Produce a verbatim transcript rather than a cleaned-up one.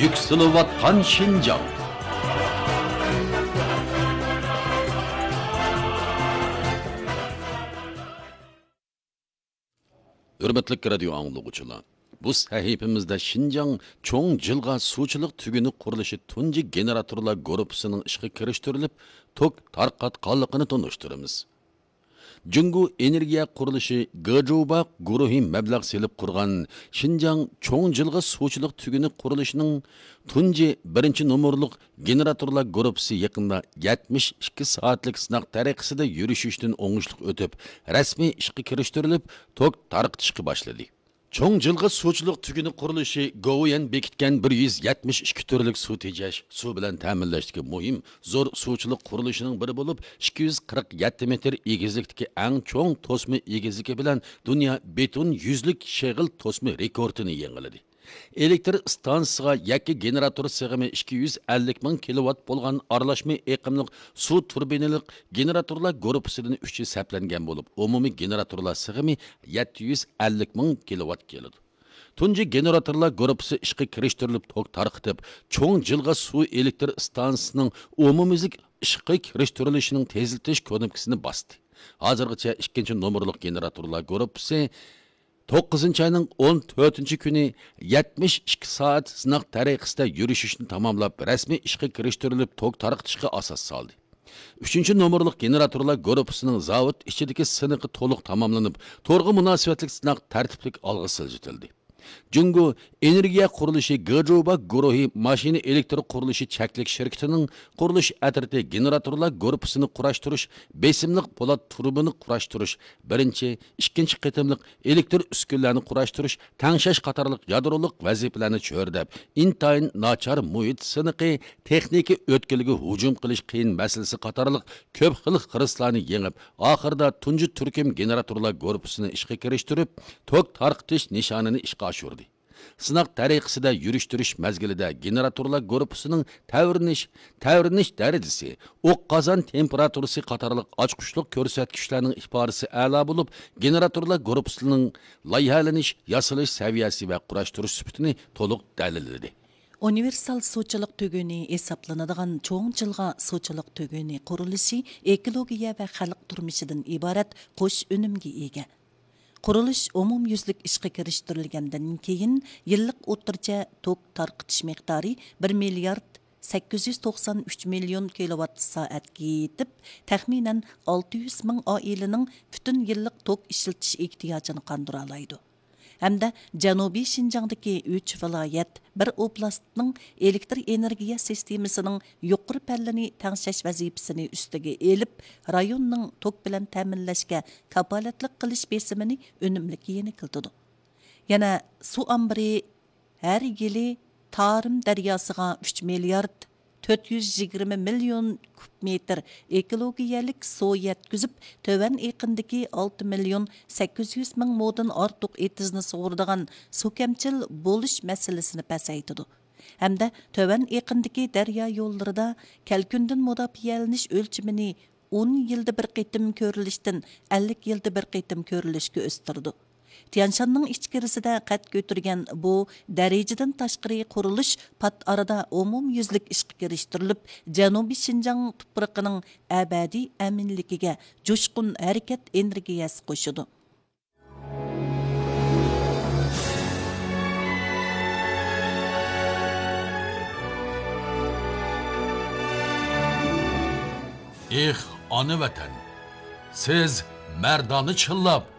يۈكسىلىۋاتقان شىنجاڭ. ھۆرمەتلىك رادىيو ئاڭلىغۇچىلار، بۇ سەھىپىمىزدە شىنجاڭ چوڭ جىلغا سۇچىلىق تۈگۈنى قۇرۇلۇشى تۇنجى گېنېراتورلار گۇرۇپپىسىنىڭ ئىشقا كىرىشتۈرۈلۈپ، توك تارقاتقانلىقىنى تونۇشتۇرىمىز. جۇڭگو ئېنېرگىيە قۇرۇلۇشى گېجوبا گۇرۇھى مەبلەغ سېلىپ قۇرغان شىنجاڭ چوڭ جىلغا سۇچىلىق تۈگۈنى قۇرۇلۇشىنىڭ تۇنجى بىرىنچى نومۇرلۇق گېنېراتورلار گۇرۇپپىسى يېقىندا يەتمىش ئىككى سائەتلىك سىناق تەرىقىسىدە يۈرۈشۈشتىن ئوڭۇشلۇق ئۆتۈپ، رەسمىي ئىشقا كىرىشتۈرۈلۈپ، توك تارقىتىشقا باشلىدى. چوڭ جىلغا سۇچىلىق تۈگۈنى قۇرۇلۇشى گوۋۇيۈەن بېكىتكەن بىر يۈز يەتمىش ئىككى تۈرلۈك سۇ تېجەش، سۇ بىلەن تەمىنلەشتىكى مۇھىم زور سۇچىلىق قۇرۇلۇشىنىڭ بىرى بولۇپ، ئىككى يۈز قىرىق يەتتە مېتىر ئېگىزلىكتىكى ئەڭ چوڭ توسما ئېگىزلىكى بىلەن دۇنيا بېتون يۈزلۈك شېغىل توسما رېكورتىنى يېڭىلىدى. ئېلېكتر ئىستانسىسىغا يەككە گېنېراتور سىغىمى ئىككى يۈز ئەللىك مىڭ كىلوۋات بولغان ئارىلاشما ئېقىملىق سۇ تۇربىنىلىق گېنېراتورلار گۇرۇپپىسىدىن ئۈچى سەپلەنگەن بولۇپ، ئومۇمىي گېنېراتورلار سىغىمى يەتتە يۈز ئەللىك مىڭ كىلوۋات كېلىدۇ. تۇنجى گېنېراتورلار گۇرۇپپىسى ئىشقا كىرىشتۈرۈلۈپ، توك تارقىتىپ، چوڭ جىلغا سۇ ئېلېكتر ئىستانسىسىنىڭ ئومۇميۈزلۈك ئىشقا كىرىشتۈرۈلۈشىنىڭ تېزلىتىش كۇنۇپكىسىنى باستى. ھازىرغىچە ئىككىنچى نومۇرلۇق گېنېراتورلار گۇرۇپپىسى توققۇزىنچى ئاينىڭ ئون تۆتىنچى كۈنى يەتمىش ئىككى سائەت سىناق تەرىقىسىدە يۈرۈشۈشنى تاماملاپ، رەسمىي ئىشقا كىرىشتۈرۈلۈپ، توك تارقىتىشقا ئاساس سالدى. ئۈچىنچى نومۇرلۇق گېنېراتورلار گۇرۇپپىسىنىڭ زاۋۇت ئىچىدىكى سىنىقى تولۇق تاماملىنىپ، تورغا مۇناسىۋەتلىك سىناق تەرتىپلىك ئالغا سىلجىتىلدى. جۇڭگو ئېنېرگىيە قۇرۇلۇشى گېجوبا گۇرۇھى ماشىنا ئېلېكتر قۇرۇلۇشى چەكلىك شىركىتىنىڭ قۇرۇلۇش ئەترىتى گېنېراتورلار گۇرۇپپىسىنى قۇراشتۇرۇش، بېسىملىق پولات تۇرۇبىنى قۇراشتۇرۇش، بىرىنچى، ئىككىنچى قېتىملىق ئېلېكتر ئۈسكۈنىلەرنى قۇراشتۇرۇش، تەڭشەش قاتارلىق يادرولۇق ۋەزىپىلەرنى چۆرىدەپ، ئىنتايىن ناچار مۇھىت سىنىقى، تېخنىكا ئۆتكىلىگە ھۇجۇم قىلىش قىيىن مەسىلىسى قاتارلىق كۆپ خىل خىرىسلارنى يېڭىپ، ئاخىرىدا تۇنجى تۈركۈم گېنېراتورلار گۇرۇپپىسىنى ئىشقا كىرىشتۈرۈپ، توك تارقىتىش نىشانىنى ئىشقا ئاشۇردى. سىناق تەرىقىسىدە يۈرۈشتۈرۈش مەزگىلىدە گېنېراتورلار گۇرۇپپىسىنىڭ تەۋرىنىش، تەۋرىنىش دەرىجىسى، ئوق قازان تېمپېراتۇرىسى قاتارلىق ئاچقۇچلۇق كۆرسەتكۈچلەرنىڭ ئىپادىسى ئەلا بولۇپ، گېنېراتورلار گۇرۇپپىسىنىڭ لايىھەلىنىش، ياسىلىش سەۋىيەسى ۋە قۇراشتۇرۇش سۈپىتىنى تولۇق دەلىللىدى. ئۇنىۋېرسال سۇچىلىق تۈگۈنى ھېسابلىنىدىغان چوڭ جىلغا سۇچىلىق تۈگۈنى قۇرۇلۇشى ئېكولوگىيە ۋە خەلق تۇرمۇشىدىن ئىبارەت قوش ئۈنۈمگە ئىگە. قۇرۇلۇش ئومۇميۈزلۈك ئىشقا كىرىشتۈرۈلگەندىن كېيىن، يىللىق ئوتتۇرىچە توك تارقىتىش مىقدارى بىر مىليارد سەككىز يۈز توقسان ئۈچ مىليون كىلوۋات سائەتكە يېتىپ، تەخمىنەن ئالتە يۈز مىڭ ئائىلىنىڭ پۈتۈن يىللىق توك ئىشلىتىش ئېھتىياجىنى قاندۇرالايدۇ. ھەمدە جەنۇبىي شىنجاڭدىكى ئۈچ ۋىلايەت، بىر ئوبلاستنىڭ ئېلېكتر ئېنېرگىيە سىستېمىسىنىڭ يۇقىرى پەللىنى تەڭشەش ۋەزىپىسىنى ئۈستىگە ئېلىپ، رايوننىڭ توك بىلەن تەمىنلەشكە كاپالەتلىك قىلىش بېسىمىنى ئۈنۈملۈك يېنىكلىتىدۇ. يەنە سۇ ئامبىرى ھەر يىلى تارىم دەرياسىغا ئۈچ مىليارد تۆت يۈز يىگىرمە مىليون كۇب مېتىر ئېكولوگىيەلىك سۇ يەتكۈزۈپ، تۆۋەن ئېقىندىكى ئالتە مىليون سەككىز يۈز مىڭ مودىن ئارتۇق ئېتىزنى سۇغۇرىدىغان سۇ كەمچىل بولۇش مەسىلىسىنى پەسەيتىدۇ ھەمدە تۆۋەن ئېقىندىكى دەريا يوللىرىدا كەلكۈندىن مۇداپىئەلىنىش ئۆلچىمىنى ئون يىلدا بىر قېتىم كۆرۈلۈشتىن ئەللىك يىلدا بىر قېتىم كۆرۈلۈشكە ئۆستۈرىدۇ. تيەنشاننىڭ ئىچكىرىسىدە قەد كۆتۈرگەن بۇ دەرىجىدىن تاشقىرى قۇرۇلۇش پات ئارىدا ئومۇميۈزلۈك ئىشقا كىرىشتۈرۈلۈپ، جەنۇبىي شىنجاڭ تۇپرىقىنىڭ ئەبەدىي ئەمىنلىكىگە جۇشقۇن ھەرىكەت ئېنېرگىيەسى قوشىدۇ. ئېھ، ئانا ۋەتەن! سىز مەردانە چىللاپ،